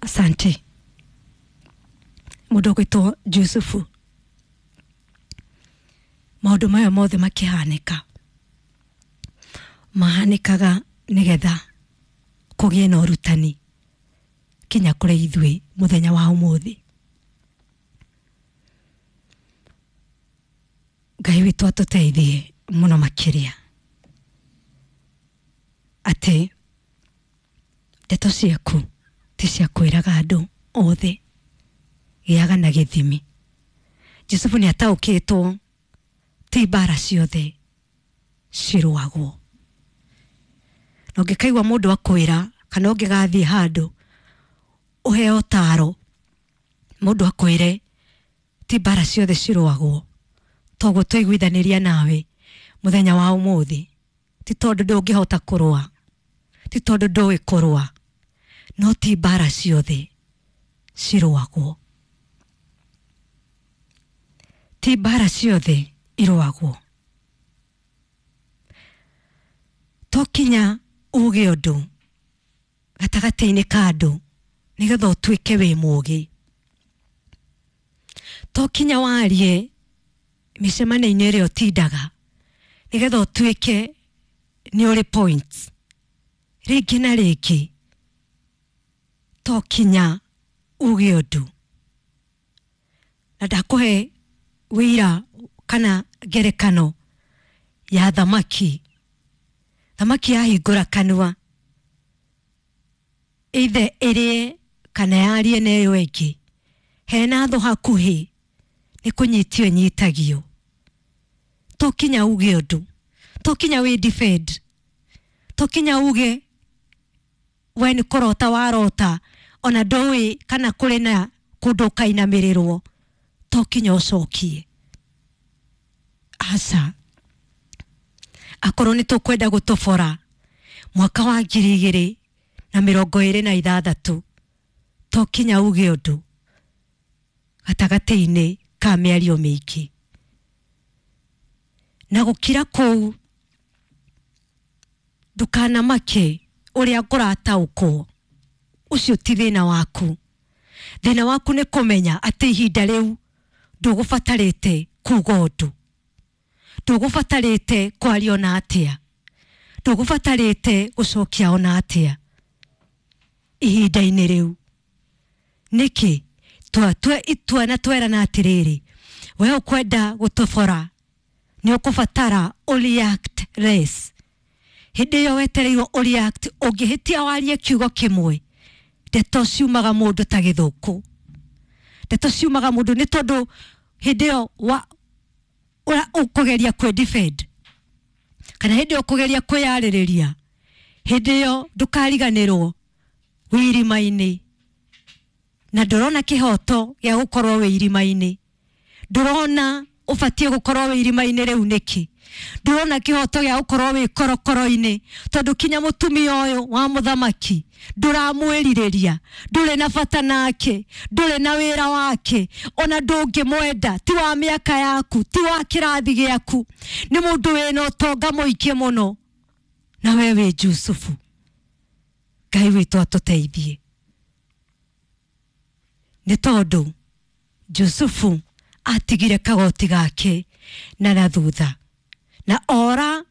Asante. Mũndũ ũgwĩtwo Jusufu, maũndũ maya mothe makĩhanĩka mahanĩkaga nĩgetha kũgĩe na ũrutani kinya kũrĩ ithuĩ mũthenya wa ũmũthĩ. Ngai witũ atũteithie mũno makĩria atĩ ndeto ciaku ti cia kwĩraga andũ othe, gĩaga na gĩthimi. Jusufu nĩ ataũkĩtwo ti mbara ciothe cirũagwo, na ũngĩkaigua mũndũ akwĩra kana ũngĩgathiĩ handũ ũheo ũtaro mũndũ akwĩre ti mbara ciothe cirũagwo, toguo twaiguithanĩria nawe mũthenya wa ũmũthĩ, ti tondũ ndũngĩhota kũrũa, ti tondũ ndũĩ kũrũa, no ti mbara ciothe cirũagwo, ti mbara ciothe irũagwo. To kinya uge ũndũ gatagatĩ-inĩ ka andũ nĩgetha ũtuĩke wĩ mũũgĩ, to kinya warie mĩcemanio-inĩ ĩrĩa ũtindaga nĩgetha ũtuĩke nĩ ũrĩ points rĩngĩ na rĩngĩ, to kinya uge ũndũ. Na ndakũhe wĩira kana ngerekano ya thamaki. Thamaki yahingũra kanua either ĩrĩe kana yarie na ĩyo ĩngĩ, hena thũ hakuhĩ nĩ kũnyitio ĩnyitagio. To kinya uge ũndũ, to kinya wĩ defend, to kinya uge we nĩ kũrota warota ona ndũĩ kana kũrĩ na kũndũ ũkainamĩrĩrwo, to kinya ũcokie. Aca, akorwo nĩ tũkwenda gũtobora mwaka wa 2026, to kinya uge ũndũ gatagatĩ-inĩ ka mĩario mĩingĩ. Na gũkira kũu ndũkanamake ũrĩa ngũrataũkwo, ũcio ti thĩna waku. Thĩna waku nĩ kũmenya atĩ ihinda rĩu ndũgũbatarĩte kuga ũndũ, ndũgũbatarĩte kwaria ona atĩa, ndũgũbatarĩte gũcokia ona atĩa ihinda-inĩ rĩu. Nĩkĩ? Twatue itua na twerana atĩrĩrĩ, we ũkwenda gũtobora nĩ ũkũbatara ũreact less. Hĩndĩ ĩyo wetereirwo ũreact, ũngĩhĩtia warie kiugo kĩmwe, ndeto ciumaga mũndũ ta gĩthũkũ, ndeto ciumaga mũndũ nĩ tondũ hĩndĩ ĩyo ũkũgeria kwĩ defend kana hĩndĩ ĩyo ũkũgeria kwĩyarĩrĩria, hĩndĩ ĩyo ndũkariganĩrwo wĩ irima-inĩ, na ndũrona kĩhoto gĩa gũkorwo wĩ irima-inĩ, ndũrona ũbatiĩ gũkorwo wĩ irima-inĩ rĩu nĩkĩ, ndũrona kĩhoto gĩa gũkorwo wĩ korokoro-inĩ, tondũ kinya mũtumia ũyũ wa mũthamaki ndũramwĩrirĩria, ndũrĩ na bata nake, ndũrĩ na wĩra wake, ona ndũngĩmwenda, ti wa mĩaka yaku, ti wa kĩrathi gĩaku, nĩ mũndũ wĩna ũtonga mũingĩ mũno, na we wĩ Jusufu. Ngai witũ atũteithie, nĩ tondũ Jusufu atigire kagoti gake na na thutha na ora,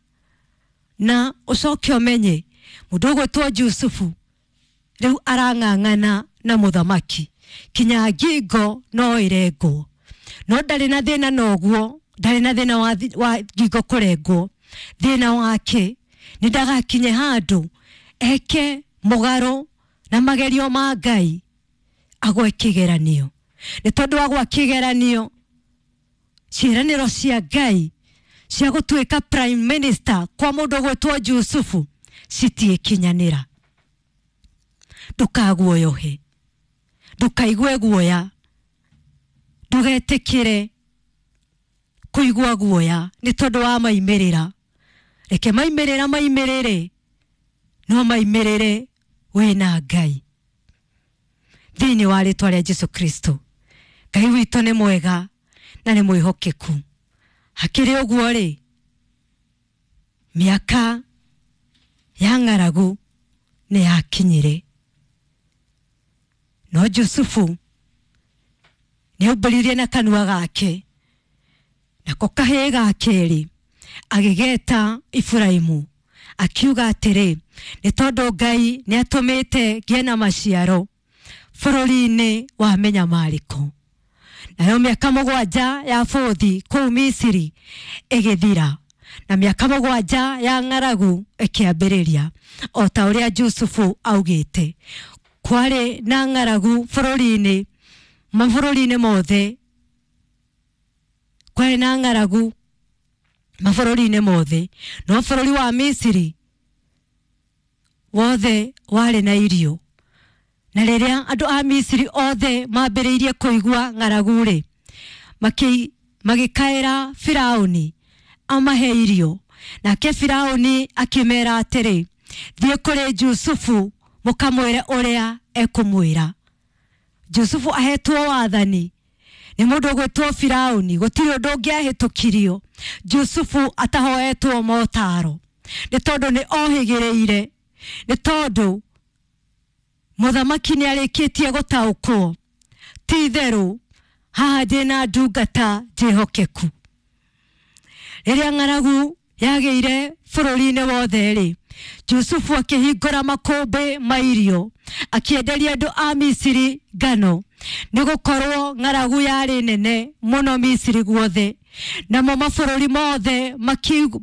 na ũcoke ũmenye mũndũ ũgwĩtwo Jusufu rĩu arang'ang'ana na mũthamaki kinya ngingo no ĩrengwo, no ndarĩ na thĩna noguo, ndarĩ na thĩna wa ngingo kũrengwo. Thĩna wake nĩ ndagakinye handũ eke mũgarũ na magerio ma Ngai agwe kĩgeranio, nĩ tondũ agwa kĩgeranio ciĩranĩro cia Ngai cia gũtuĩka prime minister kwa mũndũ ũgwĩtwo Jusufu citiĩkinyanĩra. Ndũkaguoyohe, ndũkaigue guoya, ndũgetĩkĩre kũigua guoya nĩ tondũ wa maimĩrĩra. Reke maimĩrĩra maimĩrĩre, no maimĩrĩre wĩna Ngai. Thĩinĩ wa rĩtwa rĩa Jesu Kristo, Ngai witũ nĩ mwega na nĩ mwĩhokeku. Hakĩrĩ ũguo rĩ, mĩaka ya ng'aragu nĩ yakinyire. No Jusufu nĩaumbũririe na kanua gake, nako kahĩĩ ga kerĩ agĩgeta Iburaimu, akiuga atĩrĩ, nĩ tondũ Ngai nĩatũmĩte ngĩe na maciaro bũrũri-inĩ wa mĩnyamarĩko. Nayo mĩaka 7 ya bũthi kũu Misiri ĩgĩthira, na mĩaka 7 ya ng'aragu ĩkĩambĩrĩria, o ta ũrĩa Jusufu augĩte. Kwarĩ na ng'aragu bũrũri-inĩ, mabũrũri-inĩ mothe, kwarĩ na ng'aragu mabũrũri-inĩ mothe, no bũrũri wa Misiri wothe warĩ na irio. Na rĩrĩa andũ a Misiri othe mambĩrĩirie kũigua ng'aragu-rĩ, magĩkaĩra Firaũni amahe irio. Nake Firaũni akĩmera atĩrĩ, thiĩ kũrĩ Jusufu mũkamwĩre ũrĩa ekũmwĩra. Jusufu ahetwo wathani nĩ mũndũ ũgwĩtwo Firaũni, gũtirĩ ũndũ ũngĩahĩtũkirio Jusufu atahoetwo motaro, nĩ tondũ nĩ ohĩgĩrĩire, nĩ tondũ mũthamaki nĩ arĩkĩtie gũtaũkwo ti itherũ haha ndĩna ndungata njĩhokeku. Rĩrĩa ng'aragu yagĩire bũrũri-inĩ wothe rĩ, Jusufu akĩhingũra makũmbĩ ma irio, akĩenderia andũ a Misiri ngano, nĩ gũkorwo ng'aragu yarĩ nene mũno Misiri guothe. Namo mabũrũri mothe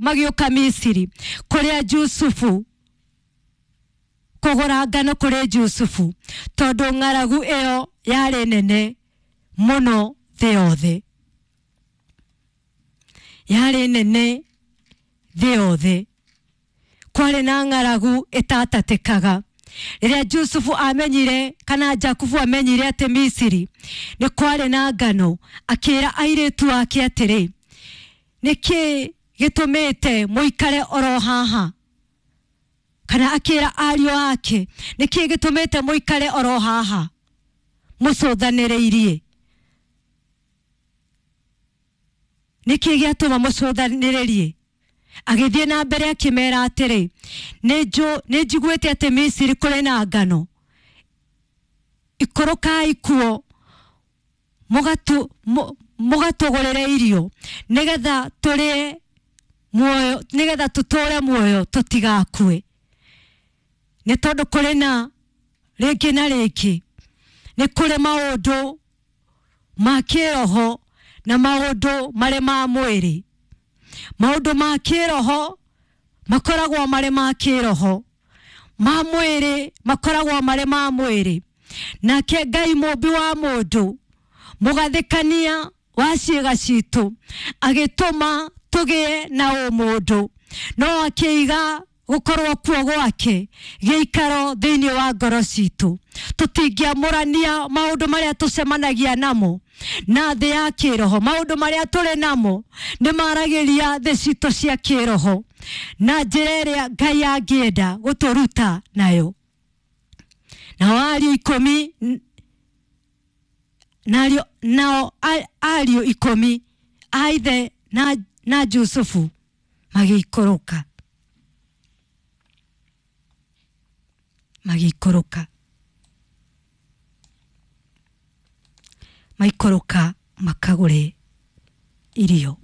magĩũka Misiri kũrĩa Jusufu kũgũra ngano kũrĩ Jusufu, tondũ ng'aragu ĩyo yarĩ nene mũno thĩ yothe, yarĩ nene thĩ yothe. Kwarĩ na ng'aragu ĩtatatĩkaga. Rĩrĩa Jusufu amenyire, kana Jakubu amenyire atĩ Misiri nĩ kwarĩ na ngano, akĩra airĩtu ake atĩrĩ, nĩkĩ gĩtũmĩte mũikare oro haha? Kana akĩra ariũ ake, nĩkĩ gĩtũmĩte mũikare oro haha mũcũthanĩrĩirie? Nĩkĩ gĩatũma mũcũthanĩrĩrie? Agĩthiĩ na mbere akĩmera atĩrĩ, nĩ njiguĩte atĩ Misiri kũrĩ na ngano, ikũrũkai kuo mũgatũgũrĩre irio, nĩgetha tũrĩe muoyo, nĩgetha tũtũre muoyo tũtigakue. Nĩ tondũ kũrĩ na rĩngĩ na rĩngĩ nĩ kũrĩ maũndũ ma kĩroho na maũndũ marĩ ma mwĩrĩ. Maũndũ ma kĩroho makoragwo marĩ ma kĩroho, ma mwĩrĩ makoragwo marĩ ma mwĩrĩ. Nake Ngai mũmbi wa mũndũ, mũgathĩkania wa ciĩga citũ, agĩtũma tũgĩe na ũmũndũ, no akĩiga gũkorwo kuo gwake gĩikaro thĩinĩ wa ngoro citũ. Tũtingĩamũrania maũndũ marĩa tũcemanagia namo na thĩ ya kĩroho. Maũndũ marĩa tũrĩ namo nĩ maragĩria thĩ citũ cia kĩroho na njĩra ĩrĩa Ngai angĩenda gũtũruta nayo. Nao ariũ 10 nao ariũ 10 a ithe na Jusufu magĩikũrũka, maikũrũka makagũre irio.